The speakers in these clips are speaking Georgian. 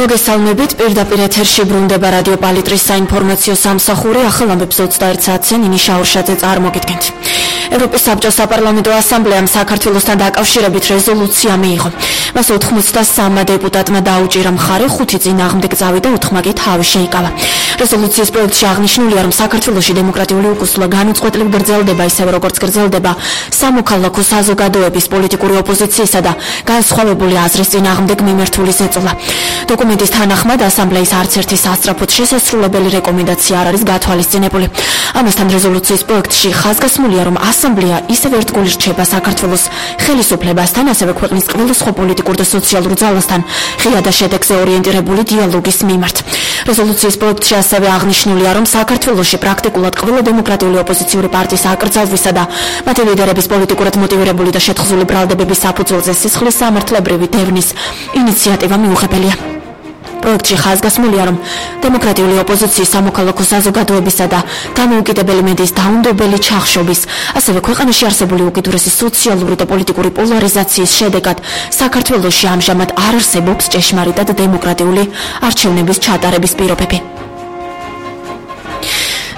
მოგესალმებით, პირდაპირ ეთერში ბრუნდება რადიო პალიტრის საინფორმაციო სამსახური, ახალ ამბებს 21 საათზე ნინი შაურშაძე წარმოგიდგენთ. ევროპის საბჭოს საპარლამენტო ასამბლეამ საქართველოსთან დაკავშირებით რეზოლუცია მიიღო. მას 83 დეპუტატმა დაუჭირა მხარე, 5 წინააღმდეგ წავიდა, 4 კი თავი შეიკავა. რეზოლუციის პროექტში აღნიშნულია, რომ საქართველოში დემოკრატიული უკუსლა განუწყვეტლივ გრძელდება, ისევე როგორც გრძელდება სამოქალაქო საზოგადოების, პოლიტიკური ოპოზიციისა და განსხვავებული აზრის წინააღმდეგ მიმართული ზეწოლა. დოკუმენტის თანახმად ასამბლეის არც ერთი სასწრაფოდ შესასრულებელი რეკომენდაცია არ არის გათვალისწინებული. ამასთან რეზოლუციის პროექტში ხაზგასმულია, რომ ასამბლეა ისევ ერთგული რჩება საქართველოს ხელისუფლებასთან, ასევე ქვეყნის ყველა სხვა პოლიტიკურ და სოციალურ ძალასთან ღია და შედეგზე ორიენტირებული დიალოგის მიმართ. რეზოლუციის პროექტში ასევე აღნიშნულია, რომ საქართველოში პრაქტიკულად ყველა დემოკრატიული ოპოზიციური პარტიის აკრძალვისა და მათი ლიდერების პოლიტიკურად მოტივირებული და შეთხზული ბრალდებების საფუძველზე სისხლის სამართლებრივი დევნის ინიციატივა მიუღებელია. პროექტში ხაზგასმულია, რომ დემოკრატიული ოპოზიციის, სამოქალაქო საზოგადოებისა და დამოუკიდებელი მედიის დაუნდობელი ჩახშობის, ასევე ქვეყანაში არსებული უკიდურესი სოციალური და პოლიტიკური პოლარიზაციის შედეგად საქართველოში ამჟამად არ არსებობს ჭეშმარიტად დემოკრატიული არჩევნების ჩატარების პირობები.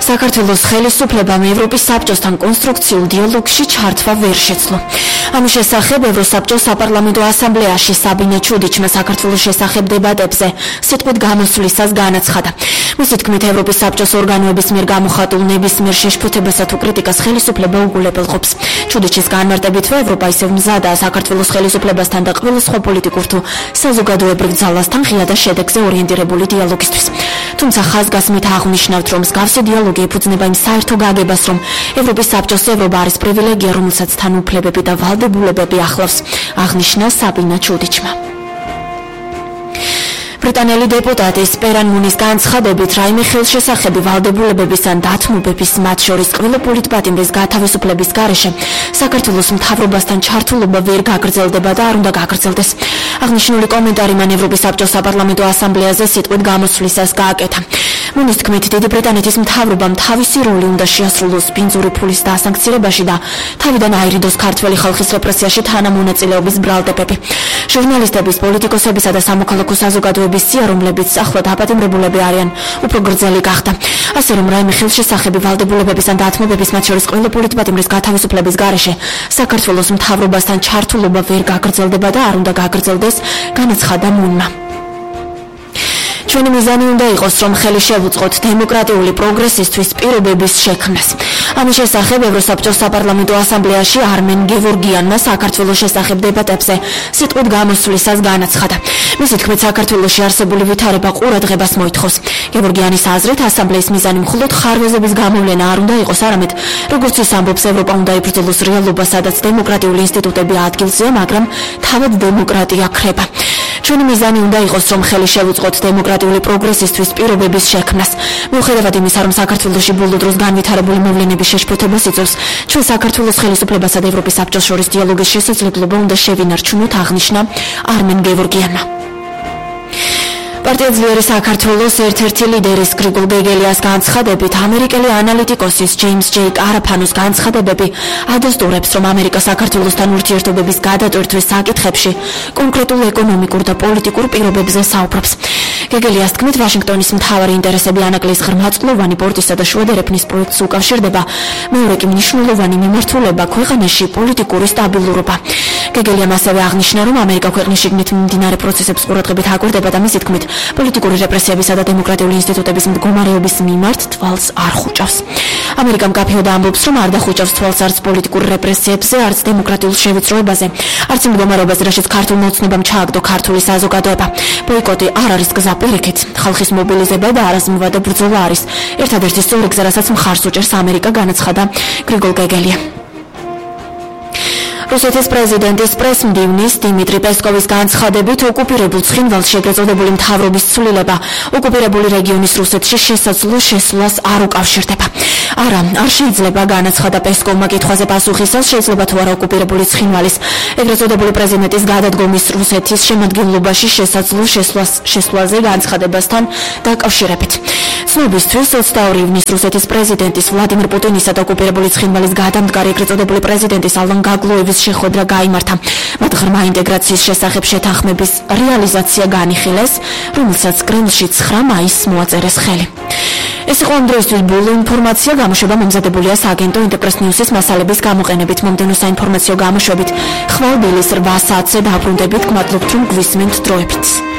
საქართველოს ხელისუფლებამ ევროპის საბჭოსთან კონსტრუქციულ დიალოგში ჩართვა ვერ შეძლო. ამის შესახებ ევროსაბჭოს საპარლამენტო ასამბლეაში საბინე ჩუდიჩმა საქართველოს შესახებ დებატებზე სიტყვით გამოსვლისას განაცხადა. მისი თქმით, ევროპის საბჭოს ორგანოების მიერ გამოხატულ ნებისმიერ შეშფოთებასა თუ კრიტიკას ხელისუფლება უგულებელყოფს. ჩუდიჩის განმარტებითვე ევროპა ისევ მზადაა საქართველოს ხელისუფლებასთან და ყველა სხვა პოლიტიკურ თუ საზოგადოებრივ ძალასთან ღია და შედეგზე ორიენტირებული დიალოგისთვის. თუმცა ხაზგასმით აღნიშნავთ, რომ მსგავსი დიალოგი ეფუძნება იმ საერთო გაგებას, რომ ევროპის საბჭოს ევროპა არის პრივილეგია, რომელსაც თან უფლებები და ვალდებულებები ახლავს, აღნიშნა საბინა ჩუდიჩმა. ბრიტანელი დეპუტატი სპერან მუნის განცხადებით, რაიმე ხელშესახები ვალდებულებების ან დათმობების, მათ შორის ყველა პოლიტპატიმრის გათავისუფლების გარეშე საქართველოს მთავრობასთან ჩართულობა ვერ გაგრძელდება და არ უნდა გაგრძელდეს. აღნიშნული კომენტარი მან ევროპის საბჭოს საპარლამენტო ასამბლეაზე სიტყვით გამოსვლისას გააკეთა. მუნის თქმით, დიდი ბრიტანეთის მთავრობამ თავისი როლი უნდა შეასრულოს ბინძური ფულის დასანქცირებაში და თავიდან აირიდოს ქართველი ხალხის რეპრესიაში თანამონაწილეობის ბრალდებები. ჟურნალისტების, პოლიტიკოსებისა და სამოქალაქო საზოგადოების სია, რომლებიც ახლა დაპატიმრებულები არიან, უფრო გრძელი გახდა. ასე რომ რაიმე ხელშესახები ვალდებულებების ან დათმობების, მათ შორის ყველა პოლიტპატიმრის გათავისუფლების გარეშე საქართველოს მთავრობასთან ჩართულობა ვერ გაგრძელდება და არ უნდა გაგრძელდეს, განაცხადა მუნმა. ჩვენი მიზანი უნდა იყოს, რომ ხელი შევუწყოთ დემოკრატიული პროგრესისთვის პირობების შექმნას. ამის შესახებ ევროსაბჭოს საპარლამენტო ასამბლეაში არმენ გევორგიანმა საქართველოს შესახებ დებატებზე სიტყვით გამოსვლისას განაცხადა. მისი თქმით, საქართველოში არსებული ვითარება ყურადღებას მოითხოვს. გევორგიანის აზრით, ასამბლეის მიზანი მხოლოდ ხარვეზების გამოვლენა არ უნდა იყოს, არამედ როგორც ის ამბობს, ევროპა უნდა იბრძოლოს რეალობას, სადაც დემოკრატიული ინსტიტუტები ადგილზეა, მაგრამ თავად დემოკრატია ქრება. ჩვენი მიზანი უნდა იყოს, რომ ხელი შევუწყოთ დემოკრატიული პროგრესისთვის პირობების შექმნას. მიუხედავად იმისა, რომ საქართველოში ბოლო დროს განვითარებული მოვლენების შეშფოთებას იწვევს, ჩვენ საქართველოს ხელისუფლებასა და ევროპის საბჭოს შორის დიალოგის შესაძლებლობა უნდა შევინარჩუნოთ, აღნიშნა არმენ გევორგიანმა. პარტია ძლიერი საქართველოს ერთ-ერთი ლიდერის გრიგოლ გეგელიას განცხადებით, ამერიკელი ანალიტიკოსის ჯეიმს ჯეი კარაფანოს განცხადებები ადასტურებს, რომ ამერიკა საქართველოსთან ურთიერთობების გადატვირთვის საკითხებში კონკრეტულ ეკონომიკურ და პოლიტიკურ პირობებზე საუბრობს. გეგელიას თქმით, ვაშინგტონის მთავარი ინტერესები ანაკლიის ღრმაწყლოვანი პორტისა და შუადერეფნის პროექტს უკავშირდება, მეორე კი მნიშვნელოვანი მიმართულება ქვეყანაში პოლიტიკური სტაბილურობა. გეგელიამ ასევე აღნიშნა, რომ ამერიკა ქვეყნის შიგნით მიმდინარე პროცესებს ყურადღებით აკვირდება და მისი თქმით, პოლიტიკური რეპრესიებისა და დემოკრატიული ინსტიტუტების მდგომარეობის მიმართ თვალს არ ხუჭავს. ამერიკა მკაფიოდ ამბობს, რომ არ დახუჭავს თვალს არც პოლიტიკურ რეპრესიებზე, არც დემოკრატიულ შევიწროებაზე, არც მდგომარეობაზე, რაშიც ქართულ მოცნებამ ჩააგდო ქართული საზოგადოება. ბოიკოტი არ არის გზა პირიქით, ხალხის მობილიზება და არაზმოვა და ბრძოლა არის ერთადერთი სწორი გზა, რასაც მხარს უჭერს ამერიკა, განაცხადა გრიგოლ გეგელია. რუსეთის პრეზიდენტის პრესმდივნის დიმიტრი პესკოვის განცხადებით, ოკუპირებულ ცხინვალს შეგეწოდებული მთავრობის ცვლილება ოკუპირებული რეგიონის რუსეთში შესაძლო შესვლას არ უკავშირდება. არა, არ შეიძლება, განაცხადა პესკოვმა კითხვაზე პასუხისას, შეიძლება თუ არა ოკუპირებული ცხინვალის ეგრეთ წოდებული პრეზიდენტის გადადგომის რუსეთის შემადგენლობაში შესაძლო შესვლაზე განცხადებასთან დაკავშირებით. ცნობისთვის 22 ივნისს რუსეთის პრეზიდენტის ვლადიმერ პუტინისა და ოკუპირებული ცხინვალის გადამდგარი ეგრეთ წოდებული პრეზიდენტის ალან გაგლოევის შეხვედრა გაიმართა. მათ ღრმა ინტეგრაციის შესახებ შეთანხმების რეალიზაცია განიხილეს, რომელსაც კრემლში 9 მაისს მოაწერეს ხელი. ეს იყო ამ დროისთვის ბოლო ინფორმაცია. გამოშვება მომზადებულია სააგენტო ინტერპრეს ნიუსის მასალების გამოყენებით. მომდევნო საინფორმაციო გამოშვებით ხვალ დილის 8 საათზე დაბრუნდებით. გმადლობთ, რომ გვისმენთ დროებით.